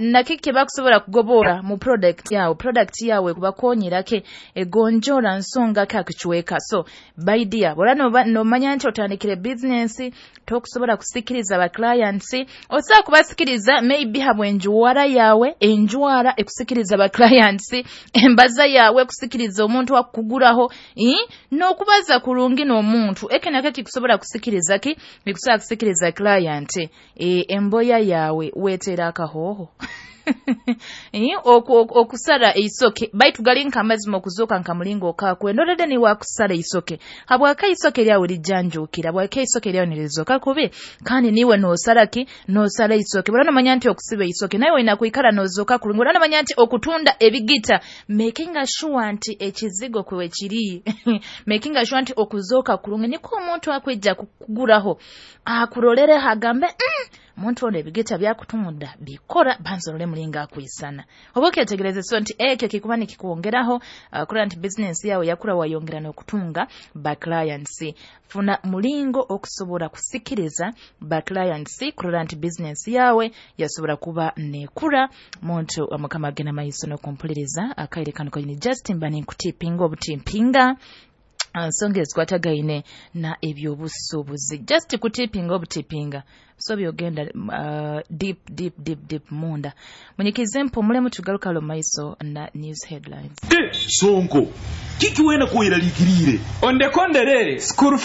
Na kiki bakusobola kugobora mu product yawe, product yawe kubakonyera ke, egonjora nsonga ka kichweka. So by dear, bora nomanya nti otandikire business, tokusobola kusikiriza ba clients, osobola kubasikiriza maybe habw'enjwara yawe, enjwara ekusikiriza ba clients, embaza yawe ekusikiriza omuntu akuguraho, n'okubaza kurungi n'omuntu, eke nakyo kikusobola kusikiriza ki, bikusobola kusikiriza client. Emboya yawe wetera akahoho okusara eisoke, baitu gali nk'amazima, okuzoka nka mulingo okakwendorede ni wakusara eisoke, habwaka isoke lyawe lijanjukira, habwaka isoke lyawe nirizoka kubi, kandi niwe nosara ki, nosara isoke. Bora nomanya nti okusiba isoke nawe olina kwikara nozoka kurungi. Bora nomanya nti okutunda ebigita, making sure nti ekizigo kwe kiri, making sure nti okuzoka kurungi, niko omuntu akwijja kukuguraho akurolere agambe, "Omuntu ono ebigita byakutunda bikora, banzorole mulinga akwisana." Oba okyetegereze, so nti ekyo kikuba nikikwongeraho kurora nti business yawe yakura, wayongera n'okutunga ba clients. Funa mulingo okusobola kusikiriza ba clients, kurora nti business yawe yasobola kuba nekura. Muntu Mukama, agenda maiso n'okumpuliriza akaire kano kanyini, just mba ninkutipinga obutimpinga nsonga ezikwatagaine na ebyobusuubuzi, just kutipinga obutipinga, so byogenda deep, deep, deep, deep munda. Munyikize mpumulemu, tugaruka lo maiso na news headlines. Sonko, kiki wena kweraliikiriire? Ondekonderere school.